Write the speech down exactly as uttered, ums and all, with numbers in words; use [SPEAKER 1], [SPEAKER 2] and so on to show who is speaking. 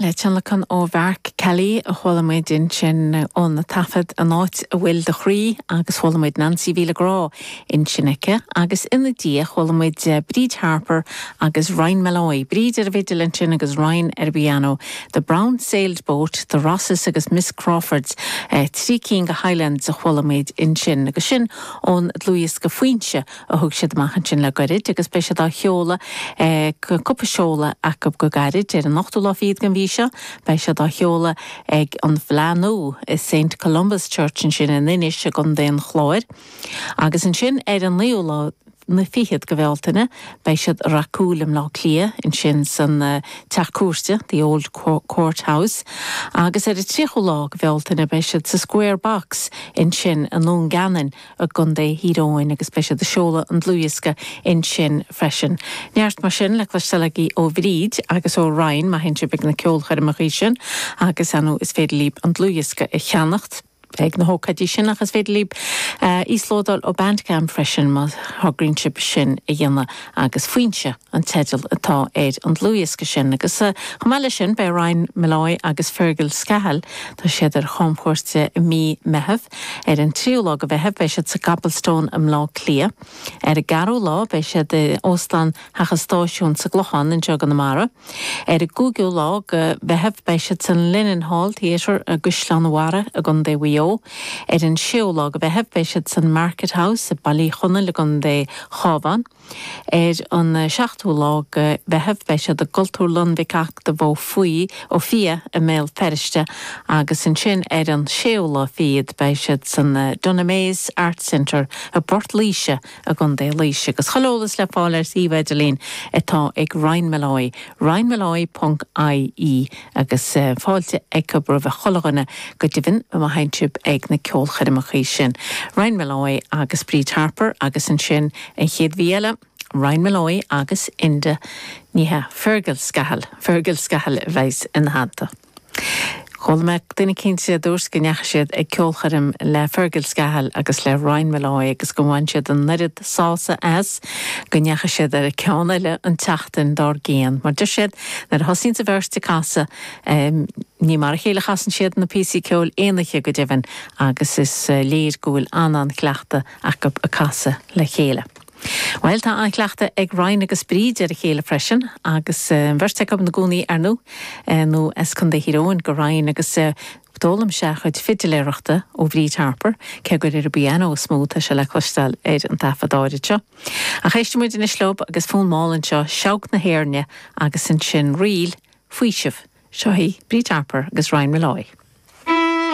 [SPEAKER 1] Le tionlacan ó Mhark Kelly a chuala muid ansin ón taifead An Áit a bhfuil do chroí agus chuala muid Nancy Mhíle Grá ansin aici agus ina diaidh chuala muid eh, Bríd Harper agus Ryan Malloy. Bríd ar an bhfidil ansin agus Ryan ar piano. The Brown Sailed Boat, The Rosses agus Miss Crawfords eh, trí cinn de Highlands a chuala muid ansin agus sin ón dlúthdhiosca Foinse a thug siad amach ansin le gairid agus beidh siad á sheoladh eh, cúpla seoladh acu go gairid ar an ochtú lá fichead den mhí seo, beidh siad á sheoladh ag an bhFleadh Nua i St Columba's Church ansin in Inis i gContae an Chláir. Agus ansin ar an naoú lá na fichead de Bhealtaine, beidh siad racúil i mBleá Cliath ansin san uh, teach cúirte, the Old Court House, agus ar an tríochú lá de Bhealtaine beidh siad sa Square Box ansin i nDún Geanainn i gContae Thír Eoghain agus beidh siad ag seoladh an dlúthdhiosca ansin freisin. Neart mar sin le cloisteáil ó Bhríd agus ó Ryan má théann sibh ag na ceolchoirmeacha sin agus anú is féidir libh an dlúthdhiosca a cheannacht. ag na hócáidí sin ach is féidir libh uh, íoslódáil ó Bandcamp freisin má thograíonn sibh sin a dhéanamh agus Foinse an teideal atá ar an dlúthdhiosca sin agus uh, chomh maith leis sin beidh Ryan Malloy agus Fergal Scahill tá siad ar chamchuairt i mí Mheithimh ar an tríú lá de Mheitheamh beidh siad sa Cobblestone i mBleá Cliath. Ar an gceathrú lá beidh siad i óstán Theach an Stáisiúin sa gClochán anseo i gConamara. Ar an gcúigiú lá de Mheitheamh beidh siad san Linen Hall Theatre i gCaisleán Bharraigh i gContae Mhaigh Eo. Ar an séú lá de Mheitheamh beidh siad san Market House i Baile Uí Chonaill i gContae Chabháin. Ar an seachtú lá de Mheitheamh beidh siad i gCultúrlann Mhic Eachtaimh Ó Faoi Ó Fiaich i mBéal Feirste agus ansin ar an séú lá fichead beidh siad san Dunamaise Arts Centre i bPort Laoise i gContae Laoise agus chuile eolas le fáil ar suíomh idirlín atá ag Ryan Malloy, ryanmalloy.ie agus uh, fáilte ag roimh chuile dhuine go deimhin má théann sibh ag na ceolchoirmeacha sin. Ryan Malloy agus Bríd Harper agus ansin an chéad mhí eile Ryan Malloy agus Inda níthe Fergal Scahill, Fergal Scahill a bheas ina theannta. Chuala mé duine cinnte dúirt go ndeachaigh siad ag ceolchoirm le Fergal Scahill agus le Ryan Malloy agus go bhain siad an oiread sásamh as go ndeachaigh siad ar an gceann eile an tseachtain dár gcionn. Mar deir siad nuair a thosaíonn an bheirt ag casadh um, ní mar a chéile chasann siad na píosaí ceoil aon oíche go deimhin agus is uh, léir go bhfuil an-an-chleachtadh acu ag casadh le chéile. Well tá an-chleachtadh ag Ryan agus Bríd ar a chéile freisin agus uh, bheirt acu ina gcónaí ar nó uh, nó as Contae Thír Eoghain do Ryan agus uh, d'fhoghlaim sé a chuid fidiléireachta ó Bhríd Harper cé gur ar an bpianó is mó atá sé le cloisteáil ar an taifead áirid seo. Ach éistfidh muid anois leo agus fonn mall anseo Seabhac na hÉirne agus ansin ríl faoiseamh seo í Bríd Harper agus Ryan Malloy.